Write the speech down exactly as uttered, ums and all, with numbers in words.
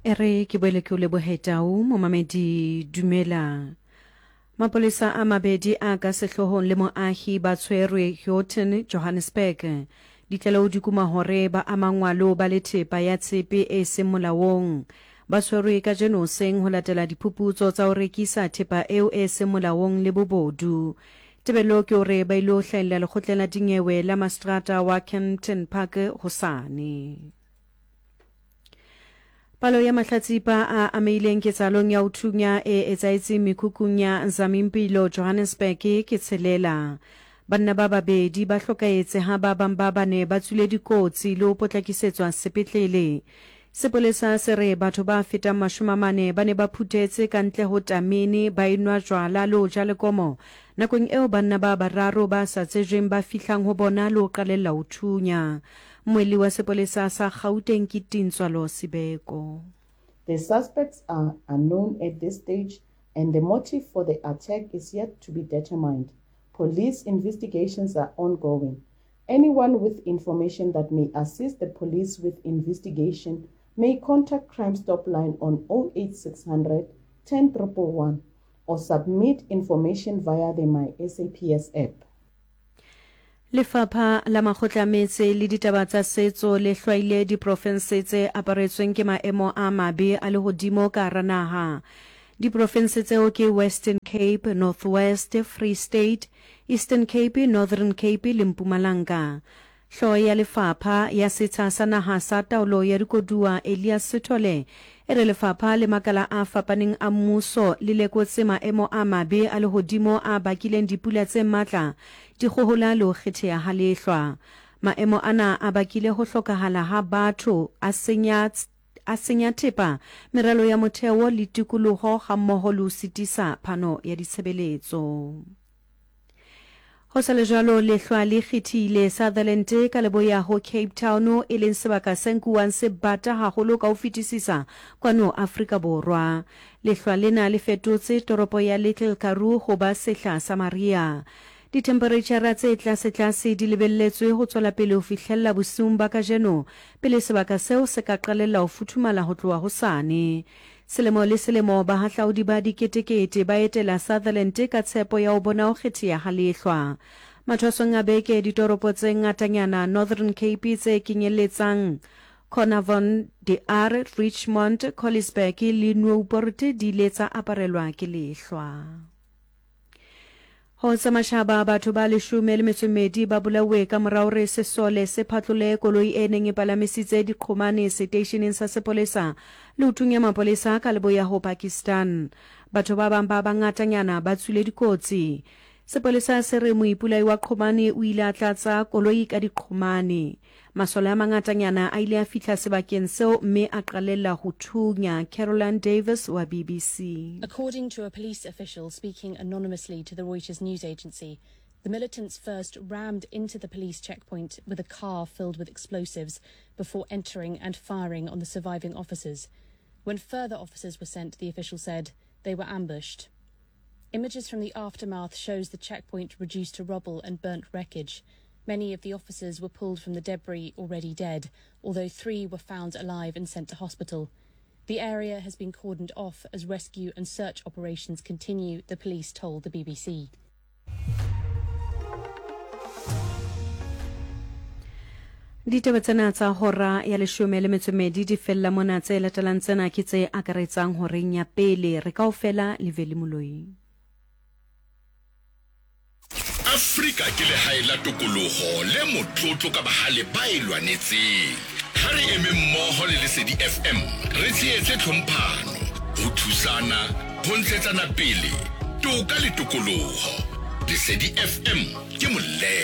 E re ke boele ke o lebohe Tau, momamedi dumela. Mapolesa a mabedi a ka sehloohong le moahi ba tshwerwe Houghton, Johannesburg. Ditlaleho di kuma hore ba amangwa le ho ba le thepa ya tshepe e seng molaong. Ba tshwerwe kajeno hoseng ho latela diphuputso tsa ho rekisa thepa eo e seng molaong le bobodu. Tebello ke hore ba ilo hlahella lekgotleng la dinyewe la maseterata wa Kempton Park hosane. Palo ya mahlatsipa a amehileng ketsahalong ya ho thunya e etsahetseng mekhukhung ya Zamimpilo, Johannesburg ke tshelela. Banna ba babedi ba hlokahetse ha ba bang ba bane ba tswile dikotsi le ho potlakisetswa sepetlele. Sepolesa se re batho ba fetang mashome a mane ba ne ba phuthetse ka ntle ho tamene ba enwa jwala le ho ja lekomo nakong eo banna ba bararo ba sa tsejweng ba fihlang ho bona le ho qalella ho thunya. Mmuelli wa sepolesa sa Gauteng ke Tintswalo Sibeko. The suspects are unknown at this stage and the motive for the attack is yet to be determined. Police investigations are ongoing. Anyone with information that may assist the police with investigation may contact Crime Stop Line on oh eight six hundred ten triple one or submit information via the My S A P S app. Lefapha la Makgotla a Metse le Ditaba tsa Setso le hlwaile diprofense tse aparetsweng ke maemo a mabe a lehodimo ka hara naha. Diprofense tseo ke Western Cape, North West, Free State, Eastern Cape, Northern Cape le Mpumalanga. Hlooho ya lefapha ya Setsha sa Naha sa Taolo ya Dikoduwa Elias Sithole e re lefapha le makala a fapaneng a mmuso le lekotse maemo a mabe a lehodimo a bakileng dipula tse matla, dikgohola le ho kgetheha ha lehlwa. Maemo ana a bakile ho hlokahala ha batho, a senya a senya thepa, meralo ya motheo le tikoloho hammoho le ho sitisa phano ya ditshebeletso. Ho sa le jwalo, lehlwa le kgethile Sutherland ka leboya ho Cape Town, e leng sebaka se nkuwang se bata haholo ka ho fetisisa kwano Afrika Borwa. Lehlwa lena le fetotse toropo ya Little Karoo ho ba sehla sa mariha. Dithempereitjhara tse tlasetlase di lebelletswe ho tswela pele ho fihlella bosiung ba kajeno pele sebaka seo se ka qalella ho futhumala ho tloha hosane. Selemo le selemo bahahlaudi ba diketekete ba etela Sutherland ka tshepo ya ho bona ho kgetheha ha lehlwa. Mathwasong a beke ditoropo tse ngatanyana Northern Cape tse kenyelletsang Carnarvon, De Aar, Richmond, Colliesburg le Noupoort di ile tsa aparelwa ke lehlwa. Ho tsa matjhaba, batho ba leshome le metso e mmedi ba bolauwe ka mora hore sesole se phatlole koloi e neng e palamisitse diqhomane seteisheneng sa sepolesa le ho thunya mapolesa ka leboya ho Pakistan. Batho ba bang ba bangatanyana ba tswile dikotsi. Sepolesa se re moipolai wa qhomane o ile a tlatsa koloi ka diqhomane. Masole a mangatanyana a ile a fihla sebakeng seo mme a qalella ho thunya. Caroline Davis wa B B C. According to a police official speaking anonymously to the Reuters news agency, the militants first rammed into the police checkpoint with a car filled with explosives before entering and firing on the surviving officers. When further officers were sent, the official said, they were ambushed. Images from the aftermath shows the checkpoint reduced to rubble and burnt wreckage. Many of the officers were pulled from the debris already dead, although three were found alive and sent to hospital. The area has been cordoned off as rescue and search operations continue, the police told the B B C. Ditaba tsena tsa hora ya leshome le metso e mmedi di fella mona. Tse latelang tsena ke tse akaretsang horeng ya pele. Re kaofela le Veli Moloi. Afrika ke lehae la tokoloho le motlotlo ka bahale ba e lwanetseng. Ha re eme mmoho le Lesedi F M, re tshehetse tlhomphano, ho thusana, ho ntshetsana pele, toka le tokoloho. Lesedi F M ke molemo.